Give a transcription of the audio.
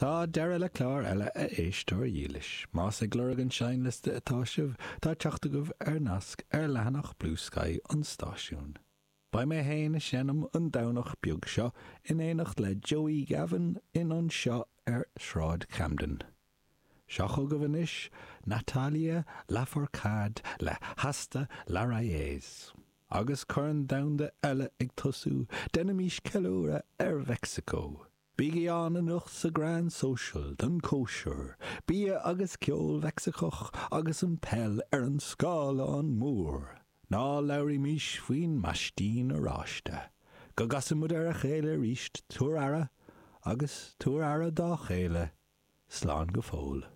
Tá deireadh le clár eile, a éisteoir dhílis. Más ag lorg an seinnliosta atá sibh, tá teacht agaibh ar nasc ar leathanach Bluesky an stáisiúin. Beidh mé féin ag seinm an Domhnach beag seo in éineacht le Joey Gavin in Anseo ar Shráid Camden. Seo chugaibh anois Natalia Lafourcade le Hasta La Raíz. Agus Corn Domhanda eile ag tosú, déanaimís ceiliúradh ar Mheicsiceo. Bígí ann anocht sa Grand Social don cóisir, bia agus ceol Mheicsicach agus an peil ar an scáileán mór. Ná labhraímís faoin maistín oráiste. Go gcasa muid ar a chéile arís, tabhair aire agus tabhair aire dá chéile. Slán go fóill.